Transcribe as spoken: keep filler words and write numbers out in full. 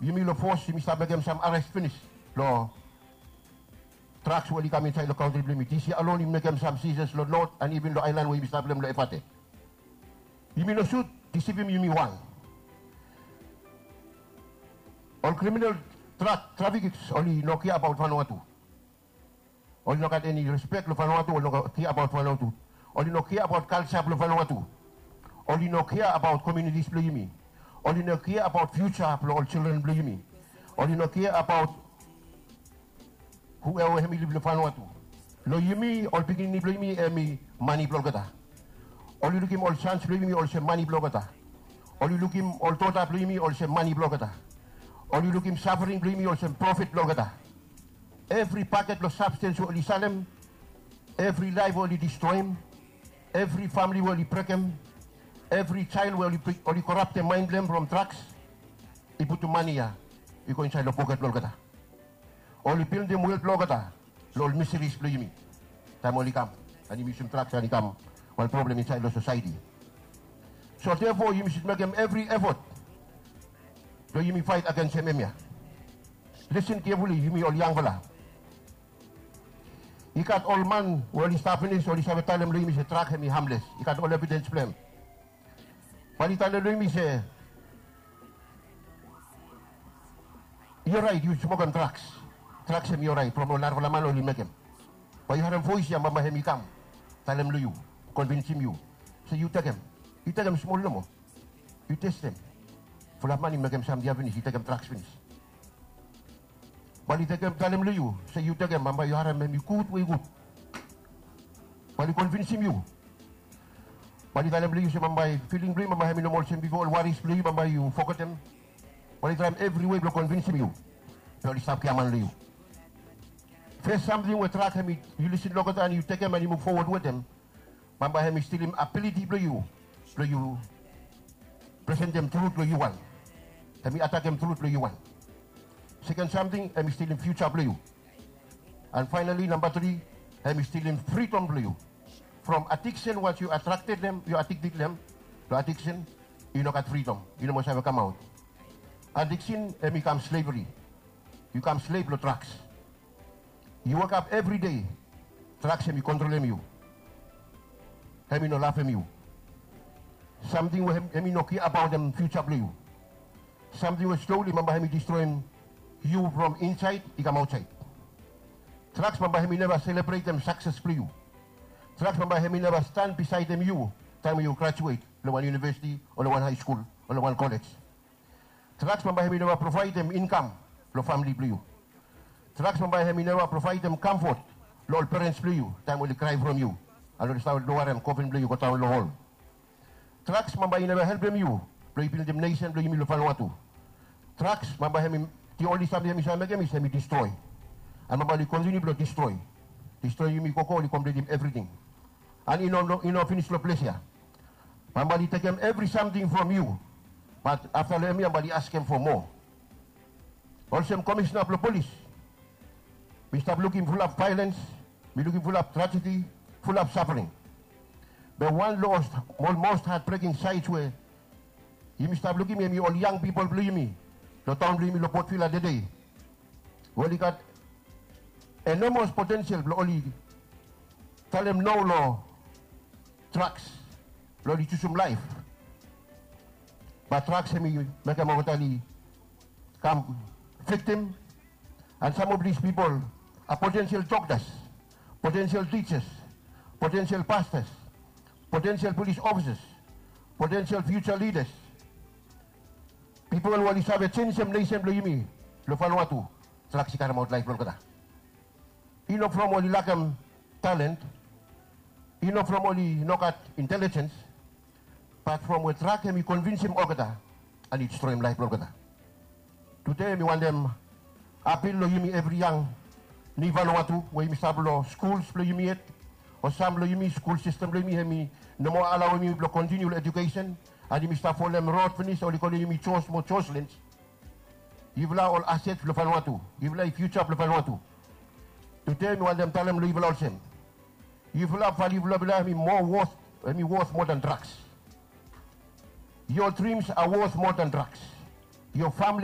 Yumi long fos yumi stap mekem sam ares finis long draks we oli kam insaed long kantri blong yumi. Disi alon yumi mekem sam sizes long not an iven long aelan we yumi stap long hem long Efate. Yumi no sut disivim yumi wan. Ol kriminal drak trafikas oli no kea abaot Vanuatu. Oli no gat eni respek long Vanuatu, oli no kea abaot Vanuatu. Oli no kea abaot kalja blong Vanuatu. Oli no kea abaot komiunitis blong yumi. Oli no kea abaot fiuja blong ol jildren blong yumi. Oli no kea abaot hueva we hemi liv long Vanuatu. Long yumi ol pikinini blong yumi hemi mane blong olgeta. Oli lukim ol sans blong yumi olsem mane blong olgeta. Oli lukim ol dota blong yumi olsem mane blong olgeta. Oli lukim safring blong yumi olsem profit blong olgeta. Evri paket blong sabstens we oli salem, evri laef we oli distroem, evri famle we oli brekem, evri jael we oli koraptem maen blong hem from draks, i putum mane ya i go insaed long poket blong olgeta. Oli bildim wel blong olgeta long ol miseris blong yumi taem oli kam an yumi yusum draks an i kam wan problem insaed long sosaeti. So therefore yumi sud mekem evri efot blong yumi faet agensem hemia. Listen carefully yumi ol yangfala. I gat ol man we oli stap finis oli save talem long yumi se drak hemi hamles. I gat ol evidens blong hem. Bae oli talem long yumi se i oraet yu smokem draks. Draks hemi oraet from ol narafala man oli mekem. Bae yu harem voes ya bambae hemi kam talem long yu, konvinsim yu se yu tekem. Yu tekem smol nomo. Yu testem. Fulap man i mekem samting ya finis, i tekem draks finis. Bae oli tekem talem long yu se yu tekem, bambae yu harem hemi gud we i gud. Bae oli konvinsim yu. Bae oli talem long yu se bambae filing blong yu bambae hemi no moa olsem bifo, ol waris blong yu bambae yu fogetem. Bae oli traem evri wei blong konvinsim yu. Be oli stap giaman long yu. Fes samting we drak hemi, yu lisin long olgeta an yu tekem an yu muv fowod wetem, bambae hemi stilim abiliti blong yu blong yu presentem trut long yu wan. Hemi atakem trut long yu wan. Seken samting hemi stilim fiuja blong yu. An faenali namba tri, hemi stilim fridom blong yu. From adiksen, wans yu atrakted long hem, yu adikted long hem, long adiksen i no gat fridom, i no moa save kamaot. Adiksen hemi kam slevri. Yu kam slev long draks. Yu wokap evri dei, draks hemi kontrolem yu. Hemi no lavem yu. Samting we hemi no kea abaotem fiuja blong yu. Samting we sloli bambae hemi distroem yu from insaed i kam aotsaed. Draks bambae hemi neva selebretem sakses blong yu. Draks bambae hemi neva stan bisaedem yu taem we yu grajuet long wan univesiti o long wan haeskul o long wan kolej. Draks bambae hemi neva provaedem inkam long famle blong yu. Draks bambae hemi neva provaedem kamfot long ol perens blong yu taem oli krae from yu an oli stap loarem kofen blong yu godaon long hol. Draks bambae i neva helpem yu blong yu bildim nesen blong yumi long Vanuatu. Draks bambae hemi, the only samting hemi save mekem is hemi distroe. An bambae oli kontiniu blong distroe. Distroe yumi gogo oli kompletem evriting. An i no, i no finis long ples ya. Bambae oli tekem evri samting from yu. Bat afta long hemia bambae oli askem fo moa. Olsem komisena blong polis, mi stap lukim fulap vaelens, mi lukim fulap trajedi, fulap safring. Be wan long ol mos hatbreking saed we yumi stap lukim hemi ol yang pipol blong yumi long taon blong yumi long Port Vila tede, we oli gat enomos potensel blong oli talem no long draks blong oli jusum laef. Bat draks hemi mekem olgeta oli kam viktim. An sam of dis pipol a potensel doktas, potensel tijas, potensel pastas, potensel polis ofisas, potensel fiuja lidas. Pipol we oli save jenjem nesen blong yumi long Vanuatu. Draks i karemaot laef blong olgeta. I no from oli lakem talent, i no from oli no gat intelijens, bat from we drak hemi konvinsim olgeta an i distroem laef blong olgeta. Tude mi wantem apil long yumi evri yang ni Vanuatu we yumi stap long skuls blong yumi yet, o sam blong yumi skul sistem blong yumi hemi no moa alaoem yumi blong kontiniu long ejukesen, an yumi stap folem rod finis oli kolem yumi Jos mo Joslins. Yufala ol aset blong Vanuatu, yufala i fiuja blong Vanuatu. Tude mi wantem talem long yufala olsem, yufala, value blong yufala hemi moa worth, hemi worth more than drugs. Your dreams are worth more than drugs. Your family